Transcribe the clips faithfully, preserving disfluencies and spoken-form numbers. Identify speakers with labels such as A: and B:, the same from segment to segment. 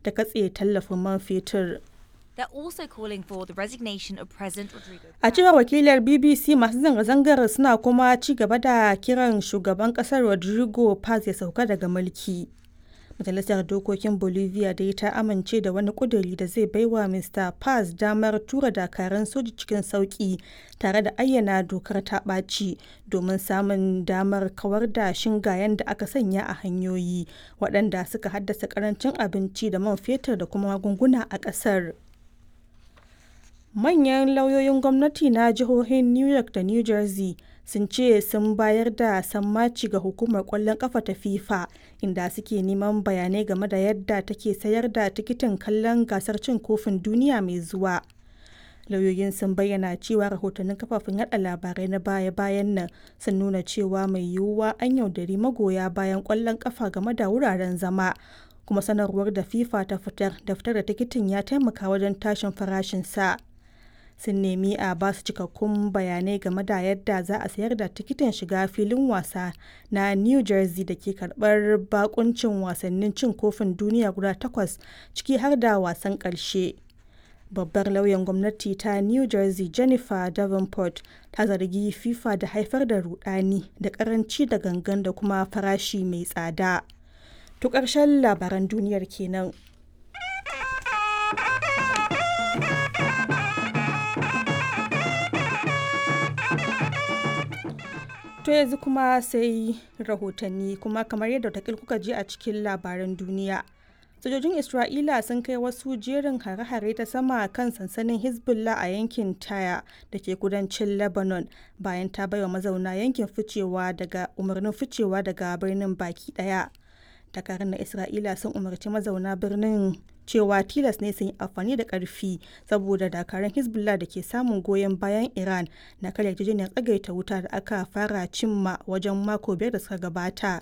A: ta katse tallafin man fetur.
B: They're also calling for the resignation of President Rodrigo.
A: A cewar wakilar B B C, masu zanga-zangar suna kuma ci gaba da kiran shugaban kasar Rodrigo Paz ya sauka daga mulki. Majalisar Dokokin Bolivia dai ta amince da wani kuduri da zai baiwa Mister Paz damar tura dakarun soji cikin sauki tare da ayyana dokar ta ɓaci domin samun damar kawar da shingayen da aka sanya a hanyoyi waɗanda suka haddasa karancin abinci da man fetur da kuma magunguna a ƙasar. Manyan lauyoyin gwamnati na jihohin New York da New Jersey sun ce sun bayar da sammaci ga hukumar kwallon kafa ta FIFA, inda suke neman bayanai game da yadda take sayar da tikitin kallon gasar cin kofin duniya mai zuwa. Lauyoyin sun bayyana cewa rahotannin kafafen yada labarai na baya-bayan nan sun nuna cewa mai yiwuwa an yaudari magoya bayan kwallon kafa game da wuraren zama, kuma sanarwar da FIFA ta fitar da fitar da tikitin ya taimaka wajen tashin farashinsa. Sun nemi a ba su cikakkun bayanai game da yadda za a sayar da tikitin shiga filin wasa na New Jersey da ke karbar bakuncin wasannin cin kofin duniya guda takwas, ciki har da wasan karshe. Babbar lauyan gwamnati ta New Jersey, Jennifer Davenport, ta zargi FIFA da haifar da rudani da karanci da gangan da kuma farashi mai tsada. To, ƙarshen labaran duniyar kenan. To, yanzu kuma sai rahotanni. Kuma kamar yadda watakil kuka ji a cikin labaran duniya, sojojin Isra'ila sun kai wasu jerin hare-hare ta sama kan sansanin Hezbollah a yankin Taya da ke kudancin Lebanon, bayan ta baiwa mazauna yankin ficewa daga umarnin ficewa daga birnin baki daya. Dakarun na Isra'ila sun umarci mazauna birnin cewa tilas ne sun yi amfani da karfi saboda dakarun Hezbollah da ke samun goyon bayan Iran na karya yarjejeniyar tsagaita wuta da aka fara cimma wajen mako biyar da suka gabata.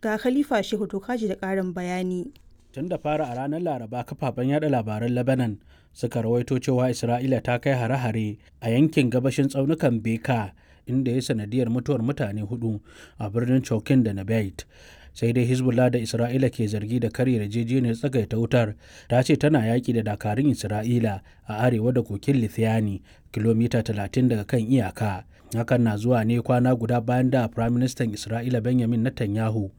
A: Ga Khalifa Shehu Tokaji da karin bayani.
C: Tun da fara a ranar Laraba, kafafen yada labaran Lebanon suka rawaito cewa Isra'ila ta kai hare-hare a yankin gabashin tsaunukan Beka, inda ya sanadiyar mutuwar mutane hudu a birnin Chokin da Nabait. Sai dai Hezbollah, da Isra'ila ke zargi da karya yarjejeniyar tsagaita wutar, ta ce tana yaƙi da dakarun Isra'ila a arewa da kokin Lithiani, kilomita talatin daga kan iyaka. Hakan na zuwa ne kwana guda bayan da Firaministan Isra'ila Benjamin Netanyahu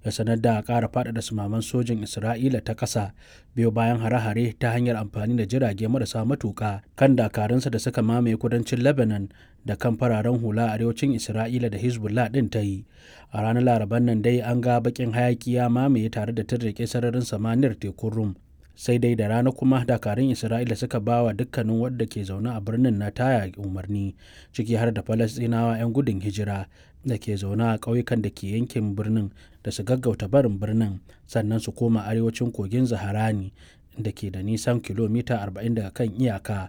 C: ya sanar da ƙara faɗaɗa sumaman sojin Isra'ila ta ƙasa, biyo bayan hare-hare ta hanyar amfani da jirage marasa matuƙa kan dakarunsa da suka mamaye kudancin Lebanon da kan fararen hula a arewacin Isra'ila da Hezbollah ɗin ta yi. A ranar Laraban nan dai an ga baƙin hayaki ya mamaye tare da tirrike sararin samaniyar tekun Rum. Sai dai da rana kuma dakarun Isra'ila suka ba wa dukkanin wadda ke zaune a birnin na Taya umarni, ciki har da Falastinawa 'yan gudun hijira da ke zaune a ƙauyukan da ke yankin birnin, da su gaggauta barin birnin sannan su koma arewacin kogin Zaharani da ke da nisan kilomita arba'in daga kan iyaka.